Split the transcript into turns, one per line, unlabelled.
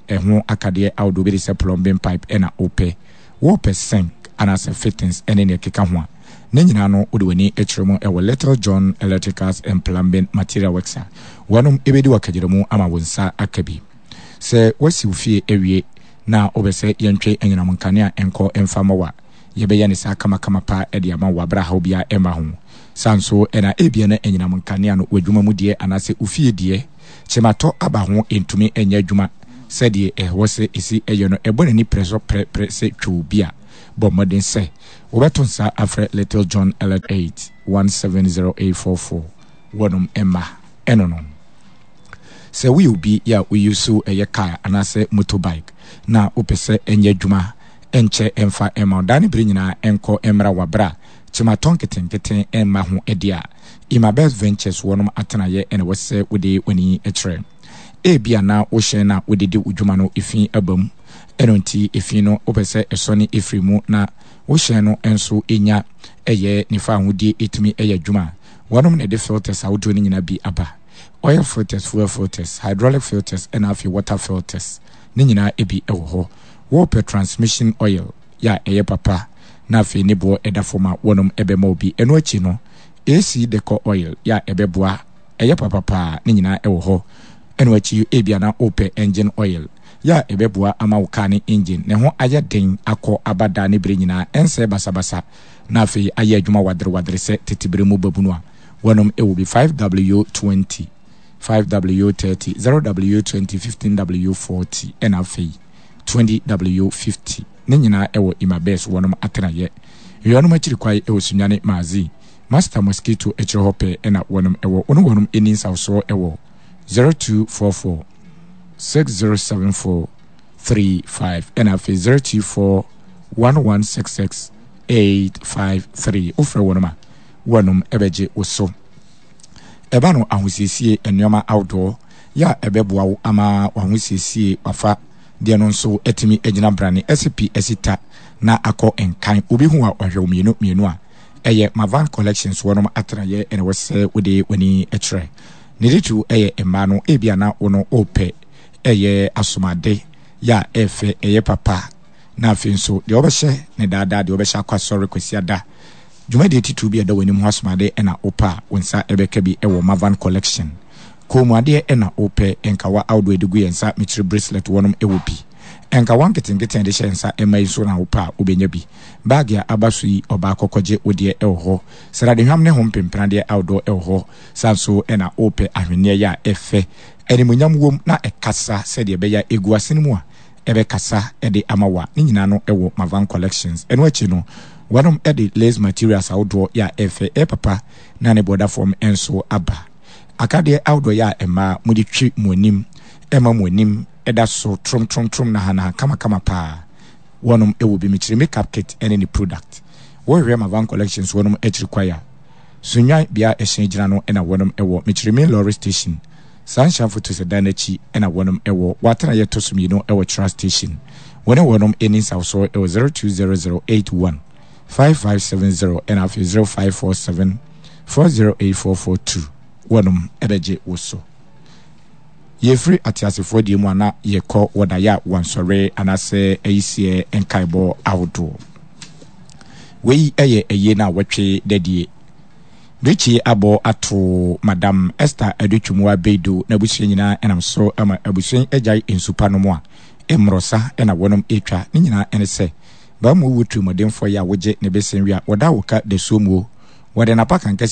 Ɛho akadeɛ ahodoɔ bi te sɛ plumbing pipe na wopɛ, wopɛ sink anaasɛ fittings ne nea ɛkeka ho a, ne nyinaa no wode w'ani kyerɛ mu wɔ Little John Electricals and Plumbing Material Works a, wɔnom bɛdi wo akagyinamu ama wo nsa aka bi. Sɛ woasi wo fie awie na wopɛ sɛ yɛntwe anyinam nkanea nkɔ mfa mma wo a, yɛbɛyɛ no saa kamakama paa de ama wo wɔ aberɛ a haw biara mma ho. Saa nso na ebia na anyinam nkanea no w'adwuma mu deɛ anaasɛ wo fie deɛ kyematɔ aba ho ntumi nyɛ adwuma sɛdeɛ ɛwɔ sɛ ɛsi yɛ no, ɛbɔ n'ani prɛ so prɛprɛ sɛ twoo bi a, bɔ mmɔden sɛ wobɛto nsa afrɛ Little John Elect 8 170844 wɔnom mma ɛno no. Sɛ woyɛ obi yɛ a wo use ɛyɛ car anaasɛ motor bike na wopɛ sɛ ɛnyɛ adwuma ɛnkyɛ ɛmfa mma wo daa ne bere nyinaa ɛnkɔ mmra wɔ aberɛ a kyematɔ nketenkete mma ho ɛdeɛ a, Imabest Ventures wɔnom atenaeɛ na ɛwɔ sɛ wode w'ani kyerɛ. Ebia na wo hyɛn no a wode di wo dwuma no efi aba mu, ɛno nti efi no wopɛ sɛ ɛsɔne firi mu na wo hyɛn no nso nya ɛyɛ ne fawohodie ɛtumi yɛ adwuma a, wɔnom na ɛde filters ahodoɔ no nyinaa bi aba. Oil filters, fuel filters, hydraulic filters ɛna afei water filters ne nyinaa bi wɔ hɔ. Wopɛ transmission oil yɛ a ɛyɛ papa na afei ne boɔ ɛda fam a wɔnom bɛma wo bi. Ɛno akyi no AC decor oil yɛ a ɛbɛboa ɛyɛ papa paa ne nyinaa wɔ hɔ. Ɛno akyi ebia na wopɛ engine oil yɛ a ɛbɛboa ama wo car ne engine ne ho ayɛ den akɔ aba daa ne bere nyinaa ɛnsɛe basabasa na afei ayɛ adwuma wadere wadere sɛ tete bere mu babunu a wɔnom wɔ bi 5W20, 5W30, 0W20, 15W40 ɛna afei 20W50 ne nyinaa wɔ Imabes wɔnom atenayɛ. Wɔnom akyiri kwae wɔ Sunyani Maazi, Master Mosquito akyire hɔ pɛɛ ɛna wɔnom wɔ. Wo ne wɔnom nni nsawsoɔ wɔ 0244 6074 35 ɛna afei 024 1166 853. Wofrɛ wɔnom a, wɔnom bɛgye wo so. Ɛba no ahosiesie nneɛma ahodoɔ yɛ a ɛbɛboa wo ama w'ahosiesie wafa deɛ no nso atumi agyina brane asi pi asi ta na akɔ nkan. Obi hu a ɔhwɛ wo mmienu mmienu a ɛyɛ Mavan Collections wɔnom atenaeɛ na ɛwɔ sɛ wode w'ani kyerɛ. Ne titiriw ɛyɛ mmaa no ebia na wo no wopɛ ɛyɛ asomade yɛ a ɛfɛ ɛyɛ papa na afei nso deɛ wobɛhyɛ ne daadaa deɛ wobɛhyɛ akɔ asɔre Kwasiada Dwumadie titiriw bi a ɛda w'anim ho asomade na wopɛ a, wo nsa bɛka bi wɔ Mavan Collection. Kɔnmuadeɛ na wopɛ, nkawa ahodoɔ a yɛde gu yɛn nsa, mekyerɛ bracelet wɔnom wɔ bi. Nkawa nketenkete a yɛde hyɛ nsa mma yi nso na wopɛ a, wobɛnya bi. Baage a aba so yi, ɔbaa kɔkɔgye wo deɛ wɔ hɔ. Sradehwam ne ho mpempenadeɛ ahodoɔ wɔ hɔ. Saa nso na wopɛ ahwenneɛ yɛ a ɛfɛ, animuonyam wom na ɛkasa sɛdeɛ ɛbɛyɛ a ɛgu asene mu a, ɛbɛkasa de ama wo a, ne nyinaa no wɔ Mavan Collections. Ɛno akyi no, wɔnom de lace materials ahodoɔ yɛ a ɛfɛ, ɛyɛ papa na ne boɔ da fam nso aba. Akadeɛ ahodoɔ yɛ a mmaa mode twi mo anim, ɛma mo anim da so tromtromtrom nahanaha kamakama paa. Wɔnom wɔ bi, mekyerɛ makeup kit ne ne product. Wohwehwɛ Mavan Collections wɔnom akyiri kwae a, Sunnwan bea a ɛhyɛn gyina no na wɔnom wɔ, mekyerɛ main lorry station. Saa nhyiamfo to sɛ dan no akyi na wɔnom wɔ wɔ atenaeɛ ɛtɔ so mmienu wɔ Tra Station. Wɔne wɔnom nni nsawsoɔ wɔ 020081 5570 ɛna afei 0547 408442. Wɔnom bɛgye wo so. Yɛfiri ateasefoɔ deɛ mu a na yɛkɔ wɔ daeɛ a wɔnsɔre anaasɛ ayisiɛ nkaebɔ ahodoɔ. Wei yɛ ayie no a wɔtwe dadie. Richie abɔ ato Madam Esther Adutwumua Beidu n'abusua nyinaa nam so ma abusua yi agyae nsu pa nom a mmorɔsa na wɔnom retwa. Ne nyinaa ne sɛ, baa mu wu tirimɔdenfoɔ yi a wogye ne bese we a wɔda wo ka dasuo muo. Wɔde n'apakan kɛse.